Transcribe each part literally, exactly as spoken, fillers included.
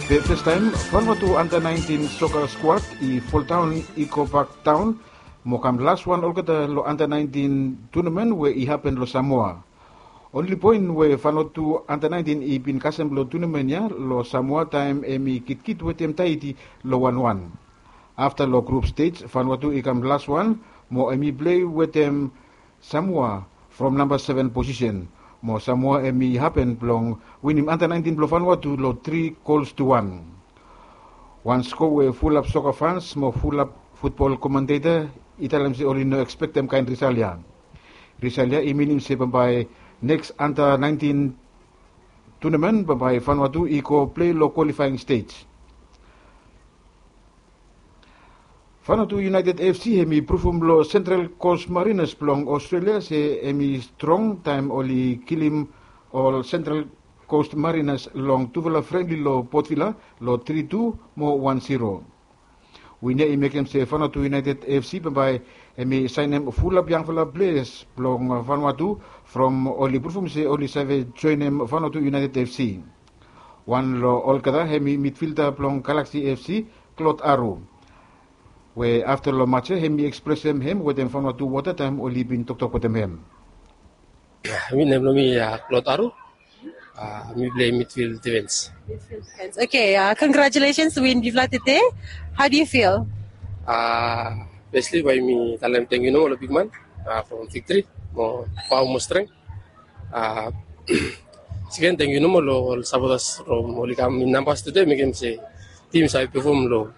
Festaem Vanuatu anda naentin soka skuad i foldaon i go bak daon mo kam laswan olgeta long anda naentin tunamen we i hapen long Samoa. Onli poen we Vanuatu anda naentin i bin kasem long tunamen ya long Samoa taem hem i kitkit wetem Tahiti long wanwan. Afta long grup stej Vanuatu i kam laswan mo hem i plei wetem Samoa from namba seven posisen. Mo Samoa hem i hapen blong winim anda naentin blong Vanuatu long tri gols tu wan. Wan skoa we fulap soka fans mo fulap futbol komenteta i talem se oli no ekspektem kaen risal ya. Risal ya i minim se bambae neks anda naentin tunamen bambae Vanuatu i go plei long kwalifaeng stej. Vanuatu United F C hem i pruvum long Central Coast Mariners blong Australia se hem i strong taem oli kilim ol Central Coast Mariners long tufala frenli long Port Vila long tri tu mo wan zero. Win ya i mekem se Vanuatu United F C bambae hem i saenem fulap yangfala pleas blong Vanuatu from oli pruvum se oli save joenem Vanuatu United F C. Wan long olgeta hem i midfilda blong Galaxy F C, Claude Aru, we afta long match ya hem i ekspresem hem wetem Vanuatu wota taem oli bin toktok wetem hem. Mi nem blong mi Claude Aru. Mi plei midfield defense. Okay, congratulations win bifala tede. How do you feel? Firstly bae mi talem tangkiu nomo long bigman from Victory mo Pau mo Strength. Seken tangkiu nomo long ol sapotas from oli kam in nambas tede mekem se tim save pefom long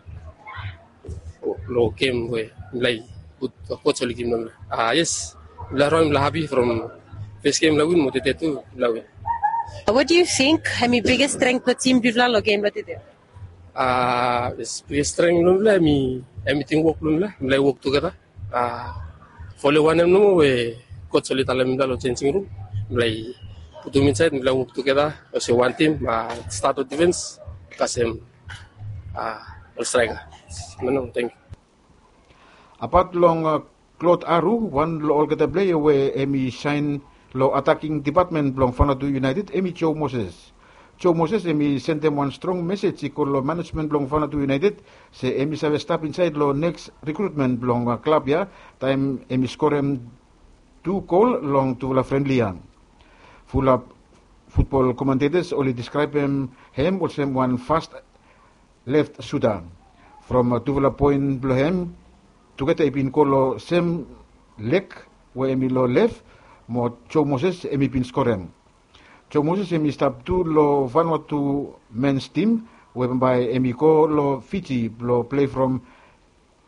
long gem we mifala i gud. Coach oli givim long mifala. Yes, mifala raon mifala hapi from fes gem mifala win mo tede tu mifala win. What do you think hem i biggest strength blong tim bifala long gem blong tede? Biggest strength blong mifala hem i tim wok blong mifala. Mifala i wok tugeta. Fole wanem nomo we coach oli talem mifala long changing room mifala i putum insaed mifala i wok tugeta olsem wan tim. Stat long defense kasem ol striker. Mano tangkiu. Apat long Claude Aru, wan long olgeta pleia we hem i saen long ataking depatmen blong Vanuatu United hem i Joe Moses. Joe Moses hem i sendem wan strong mesej i go long manejmen blong Vanuatu United se hem i save stap insaed long neks rikrutmen blong klab ya taem hem i skorem tu gol long tufala frenli ya. Fulap futbol komentetas oli deskraebem hem olsem wan fast left suta. From tufala poen blong hem tugeta i bin go long sem leg we hem i long lef mo Joe Moses hem i bin skorem. Joe Moses hem i stap tu long Vanuatu mens tim we bambae hem i go long Fiji blong plei from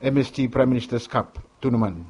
M S G Prime Minister's Cup tunamen.